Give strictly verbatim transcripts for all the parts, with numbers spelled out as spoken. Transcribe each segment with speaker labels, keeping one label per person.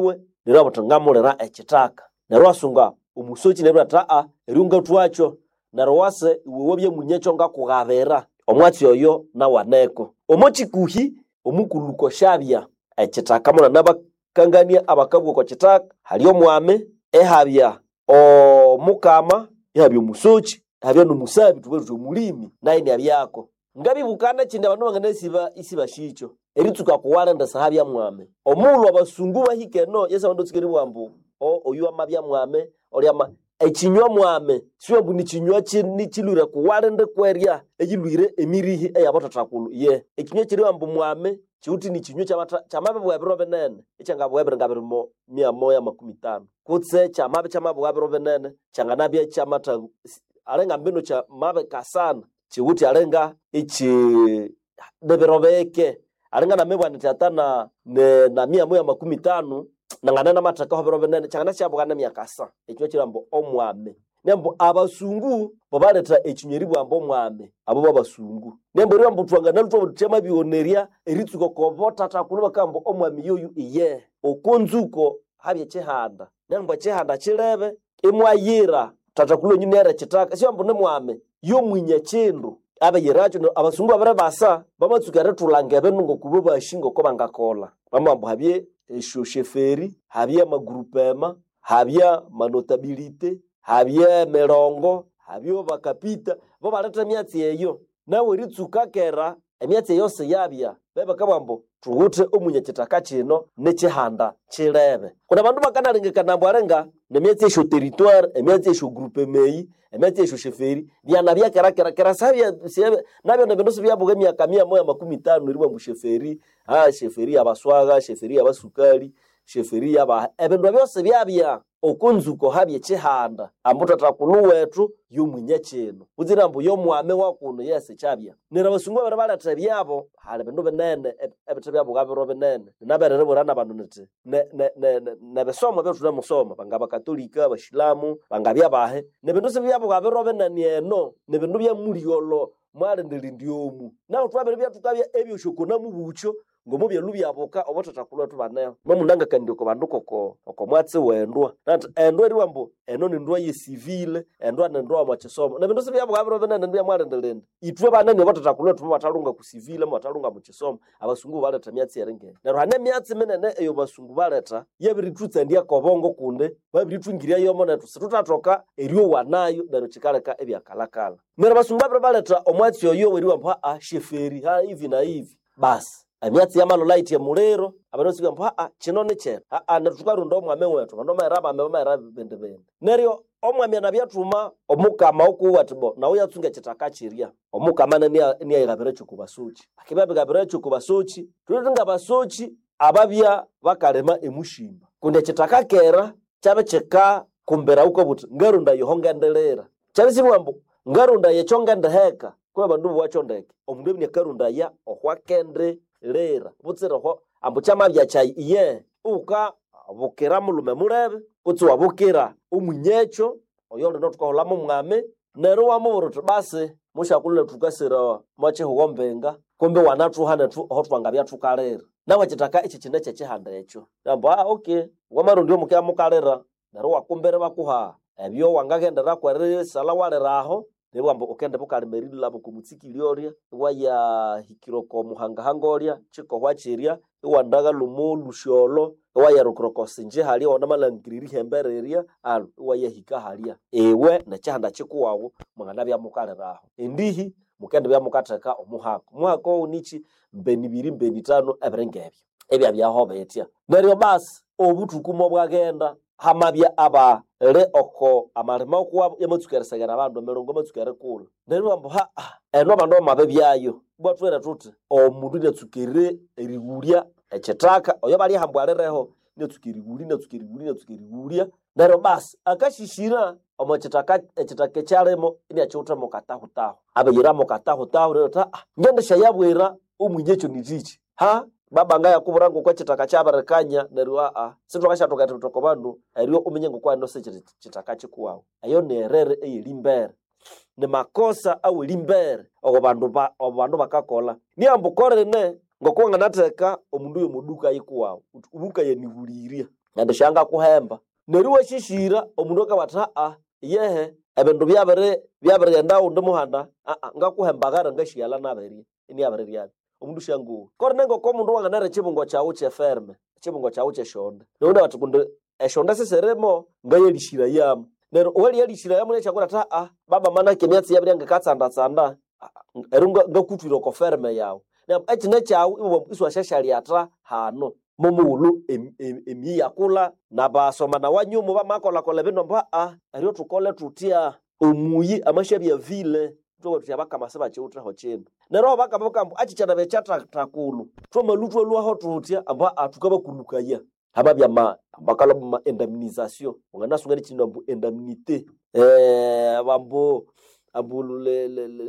Speaker 1: Neryo abuthi ngamulira ekithaka. Neryo wasunga omusoki neryo athi aa eryo ngathwakyo. Neryo wase iwe wabya munyekyo ngakugabira. Omwatsi oyo nawaneko. Omo kikuhi omukulhu koshabya ekithaka munanabakangania abakabugha oko kithaka hali omwami, ihabya omukama, ihabya omusoki, ihabya nomusabi thubughe thuthi omulimi nayo iniabyako. Ngabibukana ekindi abandu banganasiba isibashikyo eritsuka kuwalindi sihabya mwami. Omughulhu abasungu bahika eno yesi abandu batsuka eribugha ambu oyu amabya mwami olya ama ekinywa mwami siwambu nikinywa kilhwire kuwalindi kwerya eyilhwire emirihi eyabathathakulhu ye. Ekinywa ekiribugha ambu mwami kiwithe nikinywa kyamabibugha ebiro binene ekyangabugha ebiri ngabiri mo mia moya makumi tano kutse kyamabya kyamabugha ebiro binene kyanganabya kyamatha alinga mbinu kyamabikasana kiwithe alinga iki nibiro bike alinga namibugha nithi ata na na mia moya makumi tano nangana namathekaho ebiro binene kyanganasyabuga nemyaka asa. Ekinywa kiribugha ambu omwami. Nembu abasungu bobaletha ekinywa eribugha ambu omwami abo babasungu. Nembu eribugha ambu thwanganalhwa thwabugha thuthi kyamabighonerya eritsuka oko bothathakulhu bakabugha ambu omwami yoyu iye. Oko nzuko habye ekihanda. Nembu ekihanda kilebe imwayira thathakulhu wenyu iniyira ekithaka siwambu nimwami yomwinya ekindu abiyirakyo neryo abasungu babiribasa bamatsuka erithulanga ebindu ngokubo basi ngoko bangakolha. Bamabugha ambu habye esyosheferi, habye amagroupema, habye amanotabilite, habye emirongo, habye bakapita, bo baletha emyatsi eyo. Nawe eritsuka kera emyatsi eyo siyabya bebakabugha ambu thuwithe omwinya ekithaka kino nikihanda kilebe. Kundi abandu bakanalengekana ambu alinga nemyatsi esyo territoire, emyatsi esyo groupema eyi, emyatsi esyo sheferi byanabya kera kera kera sabya nabyo nebindu sibyabuga emyaka mia moya makumi tano eribugha ambu sheferi, aa sheferi yabaswagha, sheferi yabasukali, sheferi yabaha. Ebindu ebyo sibyabya. Oko nzuko habya ekihanda ambu thathakulhu wethu yomwinya kino kutsira ambu yomwami wakuno yesi kyabya. Neryo abasungu babiribaletha ebyabo hali bindu binene ebithe byabugha biro binene. Nabereribwira nabandu nithi nebisomo ebyathunemusoma bangabakatolika, abashilamu, bangabya bahi nibindu sibyabugha biro binene eno nibindu byamulyolho mwalindilindi omu. Nahu thwabiribya thukabya ebyosi oko namubukyo ngomubyalhu byabuka obothathakulhu wethu baneho. Mwamunangakanirya oko bandu koko oko mwatsi wendwa nathi endwa eribugha ambu eno nindwa ye civil, endwa nindwa omwa kisomo. Nebindu sibyabugha biro binene nibya mwalindilindi. Ithwe banene obothathakulhu wethu mubathalhunga ku civil, mubathalhunga mu kisomo, abasungu baletha emyatsi eringa eyo. Neryo hane emyatsi minene eyo basungu baletha yabirithutsandia kobongo kundi babirithungirya yomo nethu sithuthathoka eryowa nayo neryo kikaleka ebyakalhakalha. Neryo abasungu babiribaletha omwatsi oyo weribugha ambu aa sheferi ha hivi na hivi. Basi emyatsi yamalholha yithi emuliro abandu basuka ambu aa kino nikyinu aa neryo thukarunda omwami wethu abandu bamayira abami bamayira bindi bindi. Neryo omwami anabyathuma omukama okuwe athi bo nawu yatsunga ekithaka kirya. Omukama iniyayighabirakyo oko basoki. Akibya abighabirakyo oko basoki, thulwe ngabasoki ababya bakalima emushimba. Kundi ekithaka kera kyabya kikakumbira wukabugha wuthi ngarunda yoho ngendilira. Kyabya isibugha ambu ngarundaya ekyo ngendiheka kwihi abandu bowakyo ndeke. Omundu abya iniakarundaya ohwakendilira butsira oho ambu kyamabya kyayi iye wukabukira mulhume mulebe kutse iwabukira omwinyekyo oyolino thukaholha mwami neryo iwamubwira wuthi basi musyakulhu nethu thukasira omwa kihugho mbinga kumbi iwanathuha nethu aho thwangabya thukalira. Nawe ekithaka ekyi kine kyekihanda ekyo. Ambu aa okay wamarondya omukibya mukalira neryo iwakumbira ibakuha ebyo wangaghenderaku erisalha walira aho neribugha ambu wukende bukalima erilhaba oko mutsikili olya iwayahikira oko muhangahanga olya kikohwa kirya iwandaghalha omo lhusi olho iwayarukira oko sinje halya iwanamalhangirira erihembe rirya alhu iwayahika halya. Iwe nekihanda kikuwaghu mwanganabya mukalira aho. Endihi mukendibya mukatheka omuhaka. Omuhaka owu nikyi mbeni ibiri mbeni ithanu ebiri ngebyo ebyabyaho bithya. Neryo basi obuthuku mobwaghenda hamabya abali oko amalima okuwabo yamatsuka eriseghera abandu emirongo yamatsuka erikulha. Neryo ambu haa eno abandu bamabibyayo ibwa thubwire thuthi omundu iniatsuka erighulya ekithaka oyo balyaha ambu alireho iniatsuka erighulya iniatsuka erighulya iniatsuka erighulya neryo basi akashishira omo kithaka ekithaka ekyalimo iniakiwithe katahutahu. Abiyira katahutahu neryo athi aa ngendisyayabwira omwinyekyo nithiki ha baba ngayakubwira ngoko ekithaka kyabirikanya neryo aa sithwakasyathoka erithutha oko bandu eryo uminye ngoko eno sikiri kithaka kikuwawu. Eyo niyerere eyerimbere. Ni makosa awerimbere ogo bandu ba abandu bakakolha. Niambu korine ngoko wanganatheka omundu yomo duka yikuwawu wuthi ubukayanihulirya. Nandi syangakuhemba. Neryo iwashishira omundu akabwati aa yehe ebindu byabiri byabirighenda undi muhanda aa ngakuhembagara ngashighala nabirirya iniabiriryabyo. Omundu syangowa. Kori nengoko omundu wanganara ekibungo kyawu kyeferme, ekibungo kyawu kyeshonde. Neryo bati kundi eshonde sisirimo ngayalishirayamu. Neryo owaliyalishirayamu nekyakura athi aa baba manake emyatsi yabirya ngikatsandatsanda eryo ngakuthwira oko ferme yawu. Neryo ekine kyawu iwabugha ambu isiwasyasyalyatta hano. Momughulhu emiyi yakulha nabasomana wanyuma bamakolhakolha ebindu ambu aa eryo thukole thuthya omuyi amasyabya vile ithwabugha thuthi abakama sibakiwitheho kindu. Neryo aho bakama bakabugha ambu akikyanabya kyathathakulhu thwamalhwa ithwalhwaho thuthya ambu aa thukabakulukaya. Hamabya ama bakalhwa bama indemnisation wanganasunga nekyindu ambu indemnité ambu ambu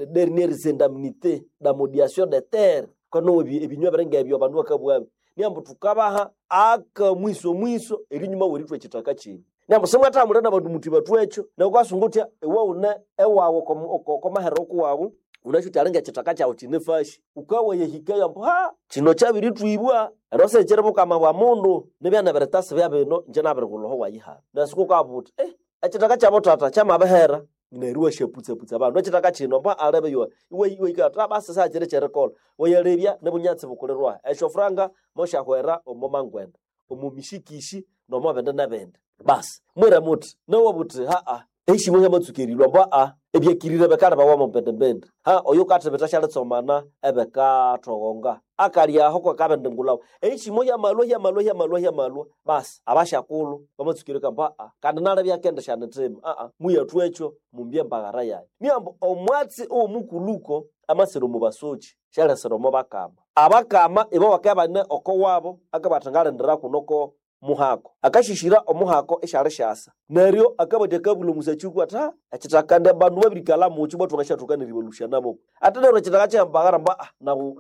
Speaker 1: dernières indemnités d'amodiation de terre kanowa ebinywa biringa ebyo abandu bakabughabyo. Niambu thukabaha akamwiso mwiso erinyuma werithwa ekithaka kyenyu. Niambu simwathamulira nabandu muthi bathwekyo neryo wukasunga wuthya iwe wune ewawu okomahere kuwawu wunasi wuthi alinga ekithaka kyawu kyinefashi. Wukawayahikayo ambu ha kino kyabirithwibwa ero sikyiri bukama bwa mundu nibya nebiritasi byabino ingye nabirighulha oho wayihano. Neryo wukabuga wuthi eh ekithaka kyabuthatha kyamabihera neryo iwasyaputsaputsa abandu ekithaka kino ambu alebe yowa iwahika wuthi basi sakyiri kyerikolha. Wayalebya nibunyatsi bukulirwahi esyofuranga mosyahwera omo mangwenda, omo mishikishi nomo bindi nebindi. Basi mwira muthi nawabuwa wuthi haa ehishimo hyamatsuka erilhwa ambu aa ebyakirire bikalhibawa omo mbindi-mbindi. Ha oyo wukathibitha syalitsomana ebikathoghonga akalyaho kwakabindi ngulhawa. Ehishimo hyamalhwa hyamalhwa hyamalhwa hyamalhwa basi abasyakulhu bamatsuka erilhwa ambu aa kandi nalebya akendisyanithima aa muyathwekyo mumbye embaghara yayi. Niambu omwatsi owomukuluko amasira omo basoki syalesira omo bakama. Abakama ibo bakabya ibane oko wabo akabugha athi ngalindira kuno oko muhako. Akashishira omuhako isyalisyasa. Neryo akabathi akabulha omusakyi athi ha ekithaka indi abandu babirikalha mukyo ibwa thwangasyathoka neribalhusyanamo. Athi neryo ekithaka kyembagara ambu aa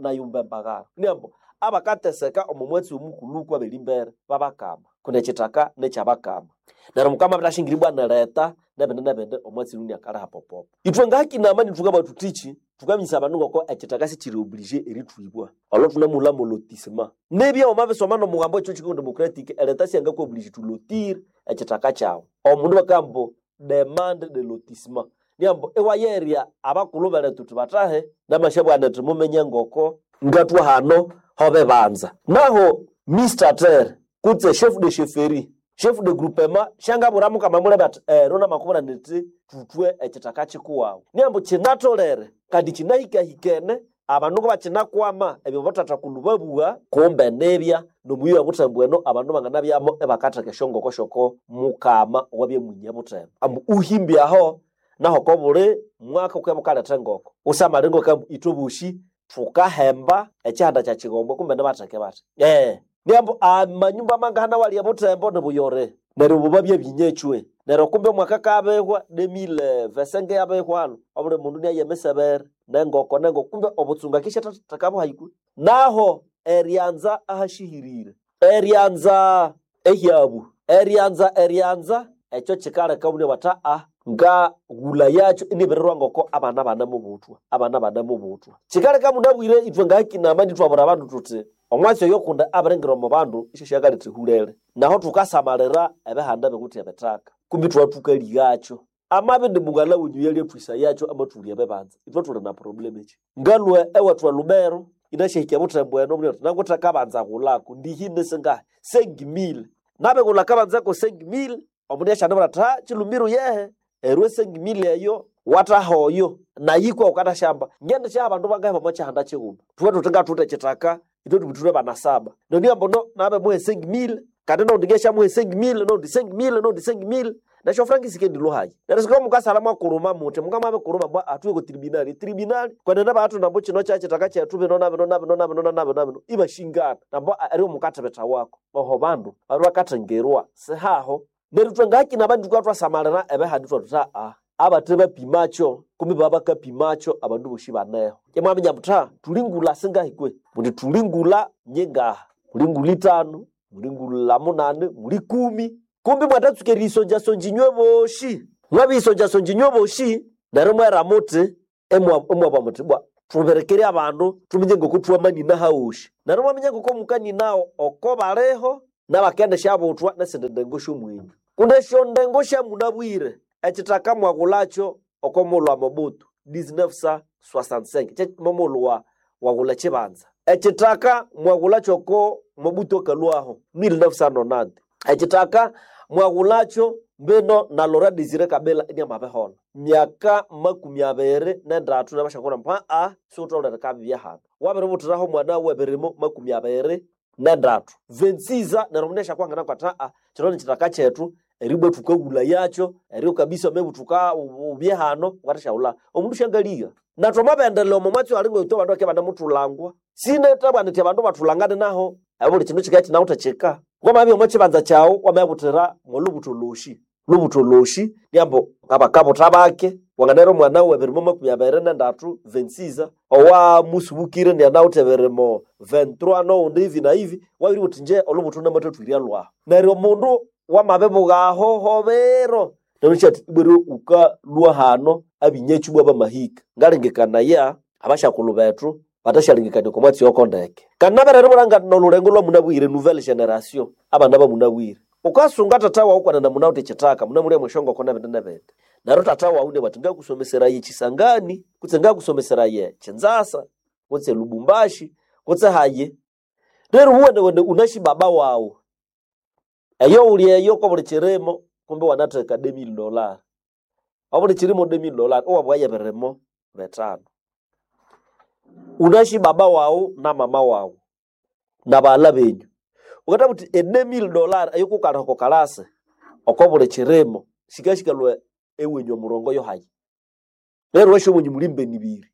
Speaker 1: nayumba embagara. Niambu abakateseka omo mwatsi omukuluko aberimbere babakama kundi ekithaka nikyabakama. Neryo mukama abirithasyangira ibwa neretha nebindi nebindi omwatsi oyu iniakaliha popopo. Ithwe ngahakinama ithukabugha thuthiki thukaminyisaya abandu ngoko ekithaka sikyiri obligé erithwibwa. Olho thunemughulha lotissement. Nibya wamabisoma nomugambo wekyo kikundi democratic ereta syangaku oblige to lotir ekithaka kyawu. Omundu bakabugha ambu demande de lotissement. Niambu iwayerya abakulhu berethu thuthi bathahe namasyabugha indi muminye ngoko ngathwa hano hobibanza. Naho Mister Terre kutse chef de chefferie, chef de groupement syangabwira mukama mulebe athi ero namakubwira nithi thuthwe ekithaka kikuwawu. Niambu kyinatholere kandi kyinahikahikene abandu ngabakinakwama ebyo bathathakulhu babugha kumbe nibya nomuyi obuthembu eno abandu banganabyamo ibakatheka esyongoko syoko mukama owabya mwinya buthembu. Ambu uhimbye aho naho oko buli mwaka wukabya wukaletha engoko. Wusamale ngoko ambu ithwe bosi thukahemba ekyihanda kyakyighombe kumbe nibatheke bathi. Eh, niambu amanyumba mangahana awali ebuthembo nibuyore. Neryo obo babya binyechwe. Neryo kumbe omwaka akabihwa demile vesenge yabihwalo obuli mundu inaye emisebere nengoko nengoko kumbe obutsunga akisyathekabuhayi Naho eryanza ahashihirire, eryanza ehyabu, eryanza eryanza ekyo kyikaleka omundu inabugha athi aa ngaghulha yakyo inibirirwa ngoko abana banemubuthwa, abana banemubuthwa. Kyikaleka munabwire ithwe ngahakinama ithwabwira abandu thuthi omwatsi oyo kundi abiringira omo bandu isyasyakalhetha ehulere. Naho thukasamalira ebihanda ebiwithe ebithaka kumbi ithwabya thukalighakyo. Amabya indi mughalha wenyu yalyathwisayakyo amathulya ebibanza ithwe thuli na problem ekyi. Ngalhwe ewethu e Lubero inasyahika ebuthembu eno omundu athi nanguthe akabanza ghulako ndihine singahi sengi mille. Nabighulha akabanza ko sengi mille omundu isyanibwira athi ha kyilumiru yehe eryo esengi mille eyo wathaha oyo nayikwa wukathasyamba ngendisyaha abandu bangahi omo kyihanda kyighuma. Thubwe thuthi ngathuwithe ekyithaka ithwe thubithwe bana saba. Neryo niambu no nabimuha esengi mille kandi nowundi ngesyamuha esengi mille nowundi sengi mille nowundi sengi mille nesyofuranga isikendilhwa hayi. Neryo sikabya mukasalha mwakuluma muthi mukamwabikuluma ambu thuye oko tribunal, tribunal kwenene bakathunda ambu kino kyakyithaka kyethu bino nabino nabino nabino nabino nabino ibashingana nambu eryo mukathibitha wako. Oho bandu babya bakathengerwa sihaho. Neryo ithwe ngahakinama thukabya thwasamalira ebihanda ithwathuthi aa abathe bapimakyo kumbi babya bakapimakyo abandu bosi baneho. Imwaminya muthi ha thulingulha singahi kwe? Muthi thulingulha nyingaha, mulingulha ithanu, mulingulha munani, muli kumi. Kumbi mwathatsuka eriyisonjasonja inywe bosi. Mwabiyisonjasonja inywe bosi neryo mwera muthi imwabugha muthi bwa thubirikire abandu thuminye ngoko thuwamanina hawosi. Neryo mwaminya ngoko mukaninaho oko baliho N'abakendisyabuthwa n'esindi ndengo sy'omwenyu. Kundi esyondengo syamunabwire ekithaka mwagulakyo oko mughulhu wa Mobutu mil novecentos sessenta e cinco kye momughulhu wa wagulha ekibanza. Ekithaka mwagulakyo oko Mobutu akalhwaho mil novecentos noventa. Ekithaka mwagulakyo mbino na Laurent Desire Kabila iniamabiholha. Myaka makumi abiri n'endatu nabasyakulhu ambu aa sighutholere kabibya hano. Wabiributhiraho omwana w'ebirimo makumi abiri n'endatu. Vingt-six ans neryo omundu asyakwangana athi aa kino nikithaka kyethu eribwa thukahulha yakyo eryo kabisa maybe thuka ubye hano wukathasyaghulha. Omundu syangaliha. Na thwamabyendelea omo mwatsi ali ngwethu abandu bakibya ibanemuthulangwa. Sinethabugha nithi abandu bathulangane naho ebuli kindu kikabya kinawithe kika. Wamabya omo kibanza kyawu wamayabuthira mwolubutho lwosi. Lubutho lwosi niambu ngabakabutha bake wanganahera omwana w'ebirimo makumi abiri n'endatu vingt-six ans owamusubukire inianawithe ebirimo vingt-trois n'owundi hivi na hivi wabiribugha wuthi inje olubutho namathathwirya lwahu. Neryo omundu wamabibuga aho hobiro neryo inasya athi ibwa wukalhwa hano abinyakyi ibwa bamahika. Ngalengekanaya abasyakulhu bethu batasyalengekania oko mwatsi oko ndeke. Kandi nabere eribulha nolhulengo lwamunabwire nouvelle generation abana bamunabwire. Wukasunga tata wawu kwenene munawithe ekithaka munamulya mwesyongoko n'ebindi n'ebindi. Neryo tata wawu inabugha athi ngakusomeseraya ekisangani kutse ngakusomeseraya Kinzasa kutse Lubumbashi kutse hayi. Neryo wuwenewene wunasi baba wawu eyo wuli eyo kwabuli kirimo kumbi wanatheka deux mille dollars. Obuli kirimo deux mille dollars iwabughayo ebirimo bithanu. Wunasi baba wawu na mama wawu nabaghalha benyu. Wukathabugha wuthi e deux mille dollars eyikukalha oko kalasi oko buli kirimo sikasikalhwa ewenyu omurongo yohayi. Neryo iwasya owenyu muli mbeni ibiri.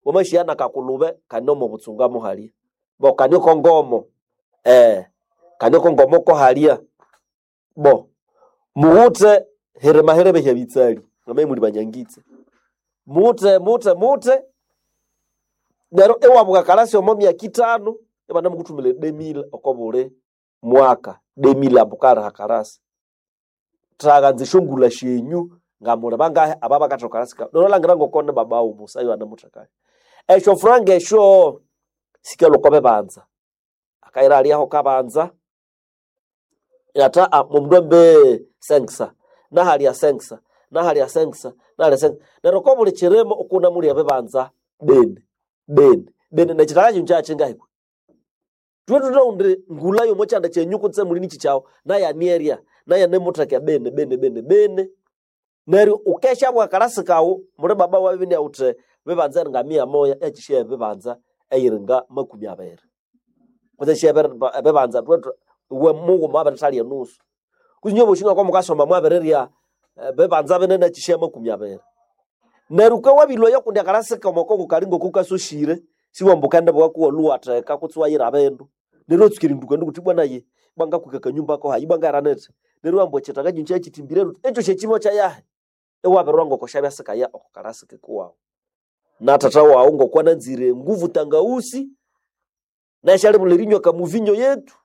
Speaker 1: Wamasya nakakulube kane omo butsunga muhalya bo kane oko ngomo eh kane oko ngomo kohalya bo mughuthe hirima hirebe bitsali namaye muli banyangitse. Muthe muthe muthe neryo iwabuka kalasi omo myaka ithanu ibanamukuthumira deux mille oko buli mwaka deux mille ambu kaliha kalasi. Thaghanza esyongulha syenyu ngamuli bangahi ababakatha kalasi kawu. Neryo iwalhangira ngoko ni baba wawu musa iwanamuthekayo. Esyo franga esyo sikalhwa oko bibanza. Akayira alyaho kabanza inathi aa omundu ambe cinq cents nahalya cinq cents nahalya cinq cents nahalya cinq cents. Neryo oko buli kirimo ikunamulya ebibanza bene bene bene nekithaka kino kyakyingahi kwe? Thwe thuthawundi ngulha yomo kyanda kyenyu kutse muli nikyi kyawu nayanerya nayanemutheka bene bene bene bene. Neryo wukesyabuka akalasi kawu muli baba wawu inawithe bibanza eringa mia moya ekyisya ebibanza eyiringa makumi abiri. Kutse esyisya ebibanza iwe mughuma wabirithalya enusu. Kutse inywe bosi ngoko mukasoma mwabirirya bibanza binene ekyisya makumi abiri. Neryo wukabya wabilhwayo kundi akalasi kawu oko kali ngoko kasosyire siwamba wukendibuka kuwalhwa iwatheka kutse iwayira bindu. Neryo iwatsuka erinduka wuthi bwana ayi ibwa ngakwika akanyumba ko hayi ibwa ngaghera nithi. Neryo iwamba ekyithaka kino kyakyithimbire luthi ekyosi ekyimo kyayahi? Iwabirirwa ngoko syabya sikaya oko kalasi kuwawu. Na thatha wawu ngoko ananzire enguvu tangawusi nasyalibulha erinywa akamuvinyo yetu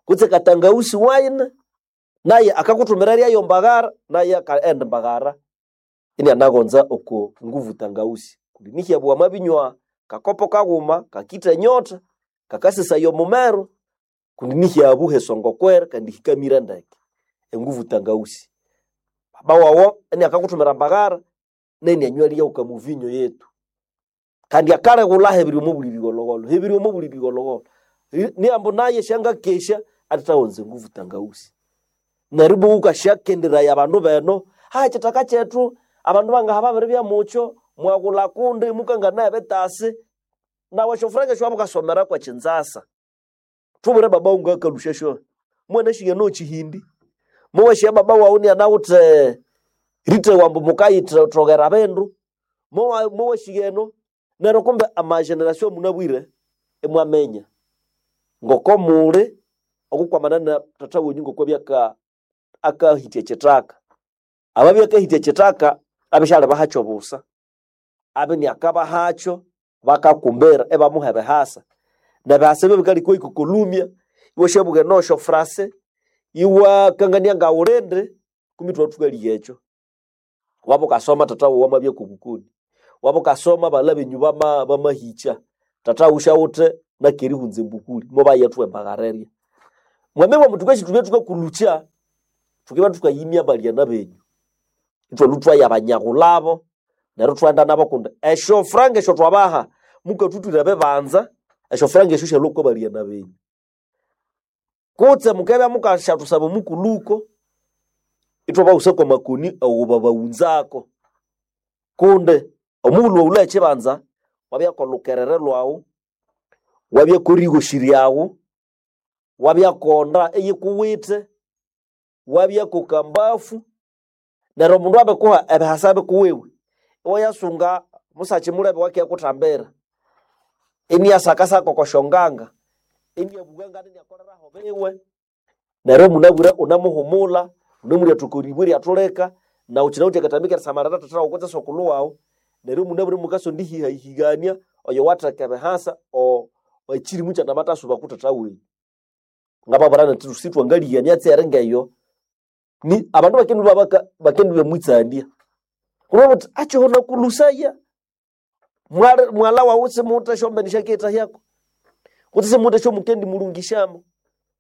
Speaker 1: kutse katangawusi wine naye akakuthumira eryayo mbaghara naye akaghenda mbaghara inianaghonza oko nguvu tangawusi. Kundi nihyabwa wamabinywa kakopo kaghuma kakitha enyotha kakasesaya omumero kundi nihyabu hesongokwera kandi hikamire ndeke enguvu tangawusi. Baba wawu iniakakuthumira mbaghara nenianywa kamuvinyo yetu. Kandi akalighulha hebiri omo buli bigholhogholho hebiri omo buli bigholhogholho. Niambu naye syangakesya athithawonza enguvu tangawusi. Neryo ibwa wukasyakenderaya abandu beno hayi ekithaka kyethu abandu bangaha babiribya mukyo mwaghulha kundi mukanganaya ebitasi nawu esyofuranga esyo wabukasomera kwa Kinzasa. Thubwire baba wawu ngakalusya syo. Mwanasyighana okyihindi muwasya baba wawu inianawithe rithewa ambu mukayithoghera bindu muwasyigheno neryo kumbe ama generation munabwire imwaminya ngoko muli okukwamana na thatha wenyu ngokwabya aka akahitya ekyithaka. Ababya akahitya ekyithaka abisyalibahakyo busa. Abe iniakabahakyo bakakumbira ibamuha ebihasa. Nebihasa ebyo bikaleka ikokolumya iwasyabuka eno esyofurase iwakangania ngawulindi kumi ithwathukalya ekyo. Wabukasoma thatha wawu amabya kobukoni. Wabukasoma baghalha benyu bama bamahikya. Thatha wawu syawithe nakerihunza embukuli mobayethuwa embagharerya. Mwamebwa mutukashi tubye tukakulukya tukiba tukayimya balyana benyu. Ithwalhu twayabanyagulabo neryo thwaghenda nabo kundi esyo franga esyo twabaha mukathuthwira ebibanza esyo franga esyo syalhwa okwa balyana benyu. Kutse mukabya mukasyathusaba omukuluko ithwabaghusa kwa makoni awobabawunzako. Kundi omughulhu waghulha ekibanza wabya kolhukerere lhwawu, wabya korigoshi ryawu, wabya konda eyikuwithe, wabya kokambafu, neryo omundu abikuha ebihasa bikuwiwe, iwayasunga musakyi mulebe wakiyakuthambira, iniyasakasaka okosyonganga, iniyabugha ngandi iniakoleraho biwe, neryo munabwire unamuhumula, unamulya thuka eribwe eryathulika, nawu kyinawithe akatambi kerisamalira thatha wawu kutse sokulhu wawu, neryo munabwire mukasonda ihihahigania oyo watheka ebihasa o- ekyirimu kyanamatasuba ku thatha wenyu. Ngababwira nthi sithwangaligha emyatsi eri ngeyo, ni abandu bakendibya baka bakendibya mwitsandya. Kundi babuthi akyiho nakulusaya, mwali mwala wawu simuwithe esyombene syakiyithahyako, kutse simuwithe esyomukendimulungishamo.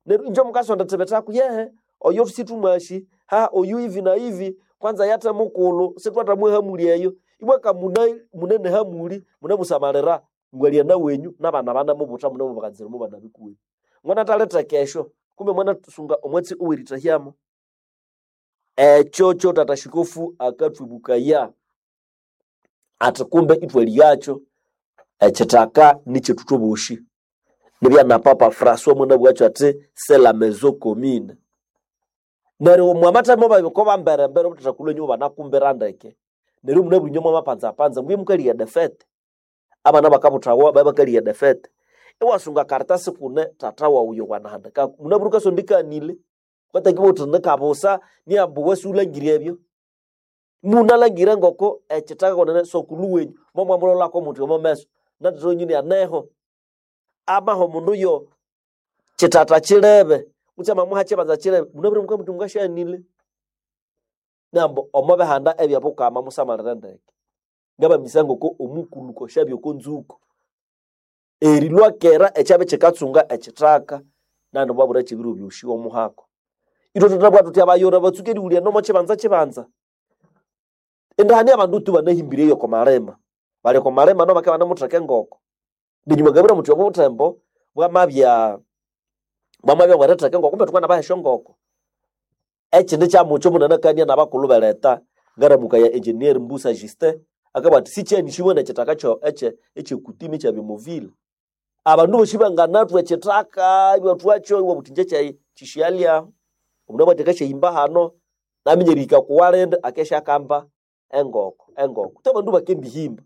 Speaker 1: Neryo ingye mukasonda ethibithaku yehe oyo sithumwasi, ha oyu hivi na hivi, kwanza yathe mukulhu sithwathamuha hamuli eyo. Ibwa kamuna munene hamuli munemusamalira ngwalyana wenyu nabana abanamubutha munemubaghanzira omo bana bikuwenyu. Mwanathalitheka esyo kumbe mwanasunga omwatsi owerithahyamu. Ekyo kyothatha shikofu akathwibukaya athi kumbe ithwalighakyo ekyithaka nikyethu thwabosi. Nibya na Papa Francois mwanabugha athi c'est la maison commune. Neryo mwamathamo babiko bamberembere obuthathakulhu enyuma banakumbira ndeke. Neryo munabwire inywe mwamapanzapanza mbuye mukaligha edefete. Abana bakabuthawa babya bakaligha edefete. Iwasunga karatasi kune thatha wawu oyo wanahandikako. Munabwire wukasonda ikanile, wukatakibugha wuthi nikabusa niambu iwe siwulhangire ebyo. Munalhangira ngoko ekyithaka kwenene sokulhu wenyu momwamulholako muthi omo meso nathatha wenyu inianeho. Amaha omundu yo kyithatha kyilebe kutse amamuha kyibanza kyilebe munabwire mukamuthi mungasyanile. Nambu omo bihanda ebyobukama musamalire ndeke. Ngabamisa ngoko omukuluko syabya oko nzuko. Erilhwa kera ekyabya kyikatsunga ekyithaka nandi bwabura kyebiro byosi omuhako. Ithwe thuthabugha thuthi abayora batsuke erighulya nomo kyibanza kyibanza. Indahani abandu tu banahimbire eyo oko malima. Bali oko malima nabo bakabya banamutheka engoko. Nenyuma ngabwira muthi obuthembo bwamabya bwamabya bweritheka engoko kumbe thukanabaha esyongoko. Ekyindi kyamukyo munanakania nabakulhu beletha ngaramukaya engineer Mbusa Justin akabugha athi sikyanisibwa nekyithaka kyo ekye ekyekutimi ekyabimovile. Abandu bosi banganathwa ekyithaka ibathwakyo iwabugha wuthi ingye kyayi kyishyalyaho. Omundu amabugha athi akasyahimba hano naminya erihika kuwalindi akeshyakamba engoko engoko. Kutse abandu bakendihimba.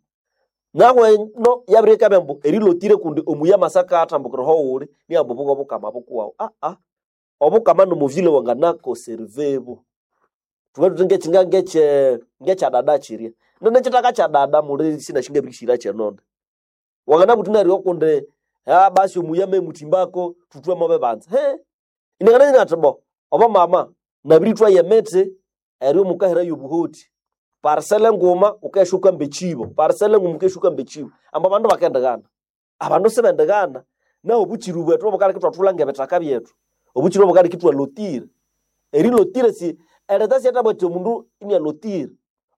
Speaker 1: Nahu eno yabirikabya ambu erilotire kundi omuya amasaka athambukira ahowuli niambu obu bwobukama bukuwawu aa. Obukama nomuvile wanganakoservebu. Thubughe thuthi ngekyinga ngekye ngekyadada kyirya. Nene ekyithaka kyadada muli sinasi ngabirishira kyenonde. Wanganabugha wuthi neryo kundi ah basi omuya amemuthimbako thuthwe mo bibanza. Hee inangana athi bo obo mama nabirithwaya emithi eryo mukaherayo obuhoti. Parcela nguma wukesha wukamba ekyibo, parcela nguma wukesha wukamba ekyibo. Ambu abandu bakendighana. Abandu sibendighana. Nahu obukyiri bwethu obukaleka ithwathulha ngebithaka byethu. Obukyiri obukaleka ithwalotira. Erilotira si ereta siyathabugha athi omundu inialotira.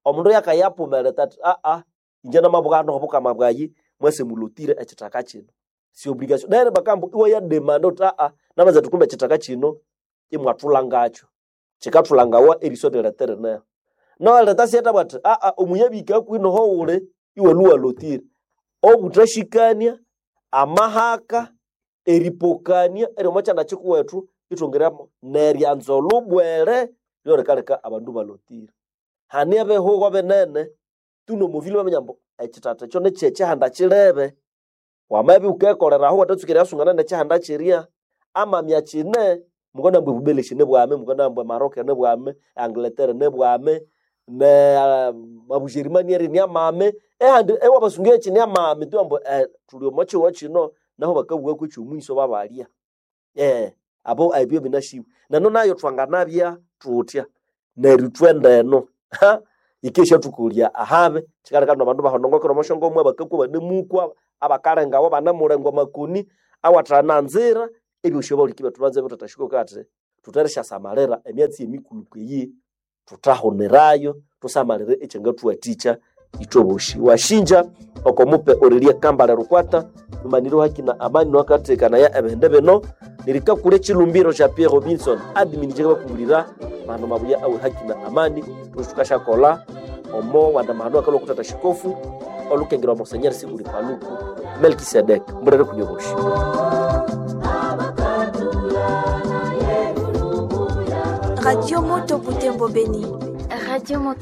Speaker 1: Omundu yakayapuma ereta athi aa ingye namabugha hano obukama bwayi mwase mulotire ekyithaka kyino. Si obligation. Neryo bakambu iwayademanda wuthi aa namanza athi kumbe ekyithaka kyino imwathulhangakyo. Kyikathulhangawa eriso erileta erineho. Nahu ereta siyathabugha athi aa omuya abihika hakuhi nohowuli iwalhwa iwalotira. Obuthasyikania, amahaka, eripokania eryomo kyanda kyikuwethu ithwongeramo neryanza olhubwere lyorikaleka abandu ibalotira. Hane ebihugo binene tu nomuvile baminya ambu ekyithatha ekyo nikyekyihanda kyilebe. Wamabya wukekolera aho iwathatsuka eriyasungana nekyihanda kyirya, amamya kyine mukanabugha ebubeleshi nibwame, mukanabugha eMaroc nibwame, eAngleterre nibwame, ne Abujerimani eri niamame, ehandi ewabasunga ekyi niamame tu ambu eh thuli omo kyihugho kyino nahu bakabugha kwekyomuyiso babalya. Eh abo ebyo binasiwe. Nenu nayo thwanganabya thuthya neryo ithwe eno ha yikeshathukolya ahabi kyikaleka nabandu ibahonongokera omo syangomwa bakakwa banemukwa abakalengawa banemulengwa amakoni awathananzira Ebyosi abaliki bethu banze betatashiko kati tutereshasamalira emyatsi emikulu kweyi tutahunirayo tusamalire ekyangatuwathikya ithwe bosi. Washinja oko mupe Aurelie Kambale Rukwata numaniro haki na amani nwakathekanaya ebihindi bino nirikakura echilumbiro kya Pierre Robinson admin jekabakumbulira mano mabuya awe haki na amani tukashakola omo wanda mahano akalwa kutata shikofu olukengerwa Monseigneur Sikuli Paluku Melkisedek mburere kunyoboshi.
Speaker 2: Radio Moto Butembo Beni.
Speaker 3: Radio Moto.